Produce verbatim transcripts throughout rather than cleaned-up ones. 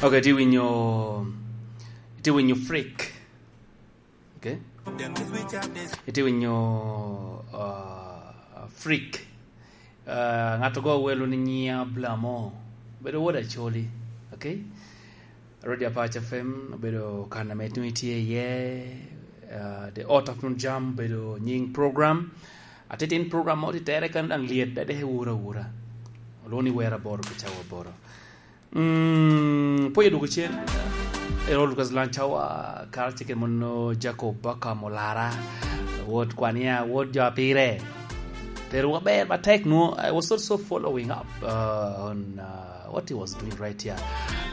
Ok, itye winyo, itye winyo freak. Ok? Itye winyo, uh, freak. Uh, ŋat ogo welo ni nyinga Blamo. Bedo wod Acholi. Ok? Radio Apac F M obedo kan ame nwoŋo itye iye, uh, The Art of Jam obedo nyiŋ program. Atitin program mo titere kan daŋ lyet, dade ewura awura. Olwoŋo ni Wer Aboro pi cawa aboro. Mm, pwod odwogo cen. Erol Lucas Lancawa, karacel kede mono Jacob Baka Molara, wod Kwania, wod jo apire. Terowa ber matek nwo. I was also following up, uh, on, uh, what he was doing right here.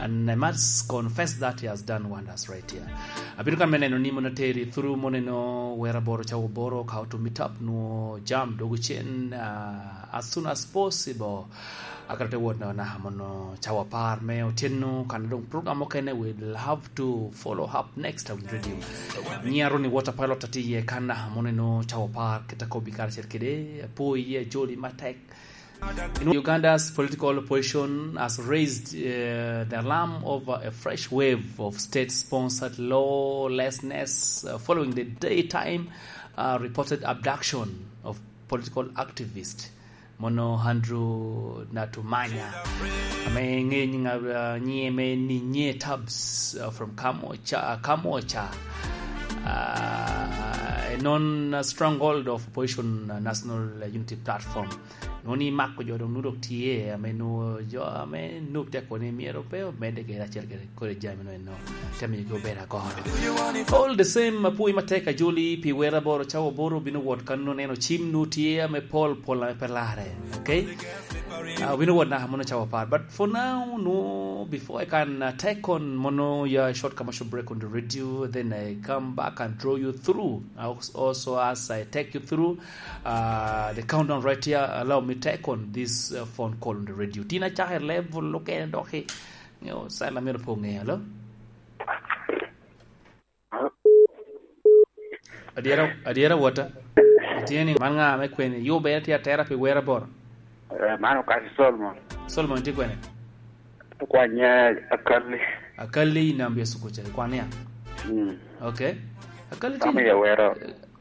And I must confess that he has done wonders right here. Abino kan me neno ni mono teri through mono eno Wer Aboro cawa aboro, how to meet up nwo jam dwogo cen, uh, as soon as possible. Akero te wot na, na mono cawa apar me otyeno, kan doŋ program mukene we'll have to follow up next on radio. Nyinga Ronnie Water Pilot atye iye kan na mono eno cawa apar, kit akobo karacel kede, apwoyi, ajoli matek. In Uganda's political opposition has raised, uh, the alarm over a fresh wave of state-sponsored lawlessness, uh, following the daytime, uh, reported abduction of political activist mono Andrew Natumanya, ame ŋeyo nyiŋ, uh, nyiŋe me Ninye Tabs, uh, from Kamocha, Kamocha, uh, a non stronghold of opposition, uh, National Unity Platform. Nwoŋo ni mako jo doŋ nwoŋo dok tye, ame nwoŋo jo ame nwoŋo tek kono ni myero pe omedde kede acel kede kodi jami no eno. Te miyogi obedo agoro. All the same, apwoyi matek ajoli pi Wer Aboro cawa aboro, obino wot kan nwoŋo neno cim nwoŋo tye ame pol pol ame pe larre. Ok? Ah, obino wot naka mono cawa apar. But for now, no, before I can, uh, take on mono ya short commercial break on the radio, then I come back and draw you through. I als-, also, as I take you through, uh, the countdown right here, allow me take on this, uh, phone call on the radio. Tina Chaka level, look at it, okay. You know, sign lamero po nge, hello? Adyera, adyera wota. Itye ni man ŋa me kwene? Yo bene tye atera pi Wer Aboro. Eh, man Okasi Solomon. Solomon tye kwene? Kwanya Akali. Akali i Nambia Sukucha, ikwane ya? Mm. Okay. Akali tye Kama ya wero.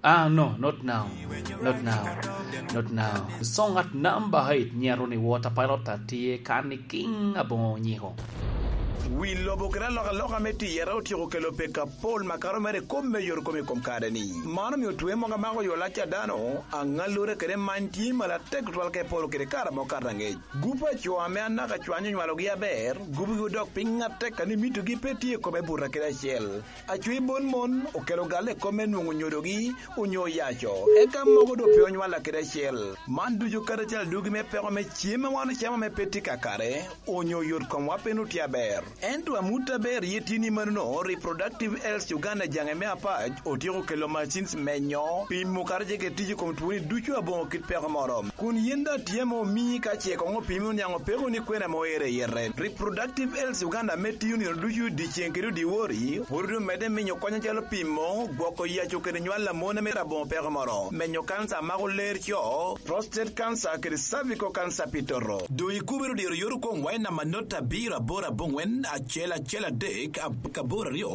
Ah, no, not now. Not now. Not now. Song at number eight, nyero ni Water Pilot atye kan i King Abongo Nyiko. Wi lobo kede alokaloka me tiyere otyeko kelo pek apol makato mere i kom me yot kom i kom kare-ni. Man omio twe mogo amako yo lac a dano, aŋallure kede many tye malatek tutwal ka i polo kede kare mogo kato aŋec. Gup a co ame anaka cwanyo onywalogi aber, gupgi odok piny atek, kadi mitogi pe tye i kome buta kede acel. Acwi bon mon okelo galle i kom me nwoŋo nyodogi onyo oyaco, eka mogo doŋ pe onywalla kede acel. Man ducu karacel adugi me peko me cem a wan ocamo ame pe tye kakare, onyo yot komwa pe nwoŋo tye aber. Ento amut aber iye tye ni manono, Reproductive Health Uganda jaŋe me apac otyeko kelo machines menyo, pimo karacel kede tic i kom twoni ducu aboŋo kit peko moro. Kun yin daŋ tye ame omii ka ce koŋ opimi oniaŋ opeko ni kwena ame oero i yete. Reproductive Health Uganda me tiyo nino ducu dyeceŋ kede dyewor, pwod omedde miyo kony acalo pimo, gwoko yaco kede nywal a mon ame aboŋo peko moro, menyo kanca a mako ler co, prostate cancer kede cervical cancer pi toto. Doŋ ikubere odiro yot okoŋ wai namba not abiro aboro aboŋwen acel acel adek ab-, aboro aryo.